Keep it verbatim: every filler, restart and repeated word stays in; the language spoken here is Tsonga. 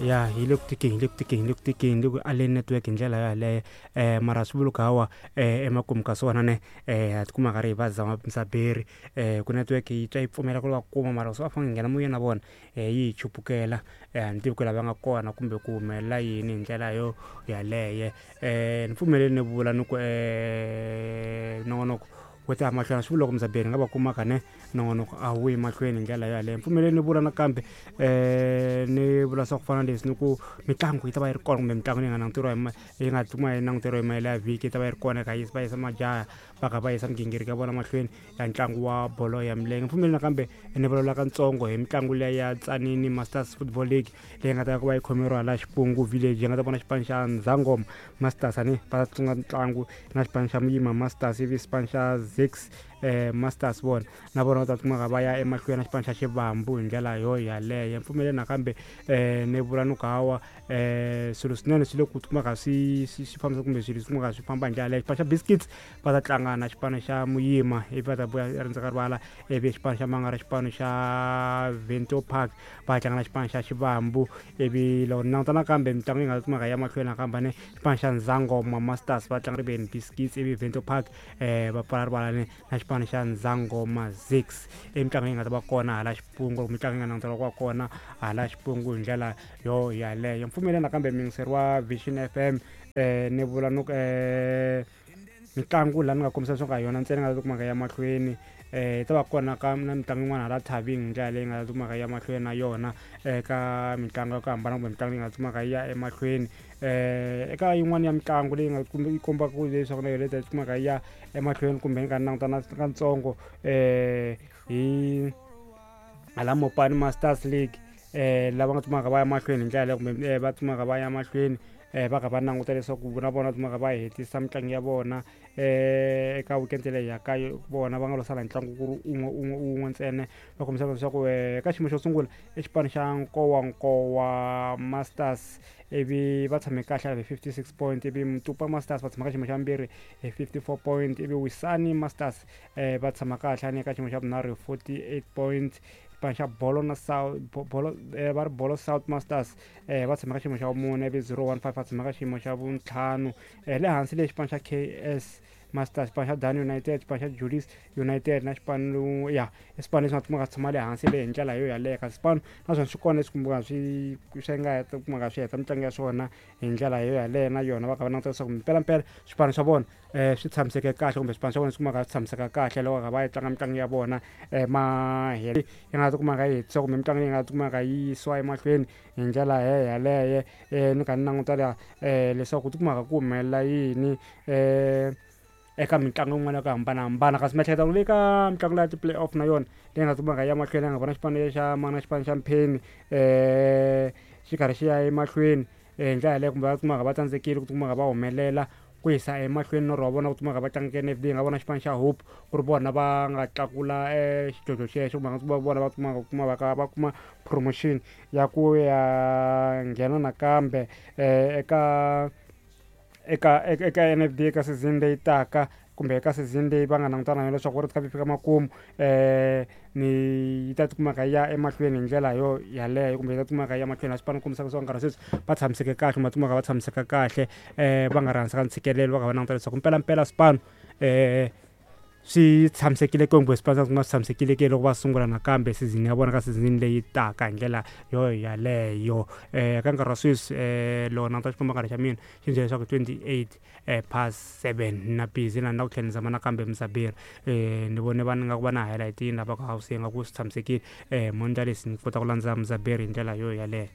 Ya, yi le ku tikeni, yi le ku tikeni, yi le ku tikeni, yi le ku aleni network hi ndlela yaleyo. um mara swi vuli ku hawa um emakumu ka swona ne um ha tikuma karhi hi va zama Mzaberi, um ku network yi twa yi pfumela ku va kuma, mara swi va fanele hi nghena moyeni na vona um yi hi chupukela. um a ni tivi ku la va nga kona kumbe ku humelela yini hi ndlela yo yaleyo. um ni pfumeleli ni vula ni ku um nongonoko wu ta ya mahlweni, a swi vuli loko Mzaberi nga va kumaka ne nongonoko a wu yi mahlweni hi ndlela yaleyo. Pfumeleli ni vula nakambe um ni vula swa ku fana na leswi ni ku mitlangu yi ta va yi ri kona, kumbe mitlangu leyi nga languteriwa hi yi nga tikuma yi languteriwa hi mahelo ya vhiki yi ta va yi ri kona, ka va yisa majaha va kha va yisa migingiriko ya vona mahlweni ya ntlangu wa bolo ya milenge. Pfumeleli nakambe ni vulavula katsongo hi mitlangu leya ya Tsanini Masters Football League leyi nga ta ku va yi khomeriwa laha Xipungu Village, yi nga ta vona xipano xa Ndzangoma Masters ani va ta tlanga ntlangu na xipano xa Muyima Masters, ivi xipano xa Zix eh Masters vona na vona va ta kumeka va ya emahlweni na xipano xa Xivambu hi ndlela yo yaleyo. Mpfumeleli nakambe um ni vula ni ku hawa um swilo swinene swi le ku kumeka swi swi swi fambisa, kumbe swilo swi kumeka swi famba hi ndlela yaleyo. Xipano xa Biscuits va ta tlanga na xipano xa Muyima, ivi va ta vuya rindza ka rivala, ivi xipano xa Mangara, xipano xa Vento Park va tlanga na xipano xa Xivambu. Ivi loko ni languta nakambe mitlangu yi nga kumeka ya mahlweni nakambe ne xipano xa Ndzangoma Masters va tlanga riveni Biscuits, ivi Vento Park um va pfala rivala ne na xipano xa Ndzangoma Zix. I mitlangu yi nga ta va kona hala Xipungu, mitlangu yi nga languteriwa ku va kona hala Xipungu hi ndlela yo yaleyo. Mpfumeleli nakambe muyingiseri wa Vision F M um ni vula ni ku um mitlangu laha ni nga kombisa leswaku a hi yona ntsena yi nga ta kumeka ya mahlweni, um yi ta va kona ka na mitlangu yin'wana hala Thabeng hi ndlela leyi nga ta kumeka ya mahlweni na yona eka mitlangu ya ku hambana, kumbe mitlangu leyi nga kumaka yi ya emahlweni. um eka yin'wana ya mitlangu leyi nga yi kombaka leswaku na yona yi ta kumeka yi ya emahlweni, kumbe ni nga languta na katsongo um hi hala Mopani Masters League, um lava nga kumaka va ya mahlweni hi ndlela yaleyo, kumbe va kumaka va ya mahlweni um va kha va languta leswaku na vona va kumaka va hetisa mitlangu ya vona um eka weekend leyi yaka vona va nga lo sala hi ntlangu ku ri un'we un'we un'we ntsena. Va kombisa leswaku eka xiyimo xo sungula i xipano xa Nkowankowa Masters, ivi va tshame kahle hi fifty six point, ivi Mtupa Masters va tshama ka xiyimo xa vumbirhi hi fifty four point, ivi Wisani Masters um va tshama kahle ani eka xiyimo xa vunharhu hi forty eight point. Xipano xa Bolo na South Bolo va ri Bolo South Masters um va tshama ka xiyimo xa vumune, ivi zero one five va tshama ka xiyimo xa vuntlhanu. Le hansi le xipano xa K S Masters, xipano xa Dan United, xipano xa Julius United na xipano ya i swipano leswi nga kumeka swi tshama le hansi le hi ndlela yo yaleyo. Kasi swipano naswona swi kona leswi kumeka swi swi nga heta kumeka swi heta mitlangu ya swona hi ndlela yo yaleyo, na yona va kha va languta leswaku mpelampela swipano swa vona um swi tshamiseke kahle, kumbe swipano swa vona swi kumeka swi tshamiseka kahle loko va kha va yi tlanga mitlangu ya vona um mahele yi nga kumeka yi hetisa, kumbe mitlangu leyi nga kumeka yi yisiwa emahlweni hi ndlela yaleyo. um ni kha ni languta laha um leswaku ku tikumaka ku humelela yini um eka mitlangu yin'wana ya ku hambanahambana. Kasi miehleketo leyi ka mitlangu leya ti-play off na yona leyi nga kumaka ya mahlweni, nga vona xipano xa mana xipano xa Mpheni um xi karhi xi ya emahlweni hi ndlela yaleyo, kumbe va kumaka va tsandzekile ku tikuma va humelela ku yisa emahlweni norho wa vona ku tikuma va tlanga N F D. Hi nga vona xipano xa Hope ku ri vona va nga tlakula xidlodlo xexo, kumbe va vona va kumaka kuma va va kuma promotion ya ku ya nghena nakambe eka eka eka N F D eka season leyi taka, kumbe eka season leyi va nga langutana na yona leswaku World Cup yi fika makumu um ni yi ta tikumaka yi ya emahlweni hi ndlela yo yaleyo, kumbe yi ta tikumaka yi ya mahlweni. A swipano kombisaka leswaku nkarhi wa sweswi va tshamiseke kahle, kumbe va tikumaka va tshamiseka kahle um va nga ri hansi ka ntshikelelo, va kha va languta leswaku mpelampela swipano um swi tshamisekile kumbe swipano swa swi tshamisekile ke loko va sungula nakambe season ya vona ka season leyi taka hi ndlela yo yaleyo. um ka nkarhi wa sweswi um loko languta xikomba nkarhi xa mina xi byela leswaku twenty eight um past seven na busy na na ku tlhela ni zama nakambe Mzaberi um ni vone va nga ku va na highlight yini lava ku house nga ku swi tshamisekile um mo ndla leswi ni kota ku landza Mzaberi hi ndlela yo yaleyo.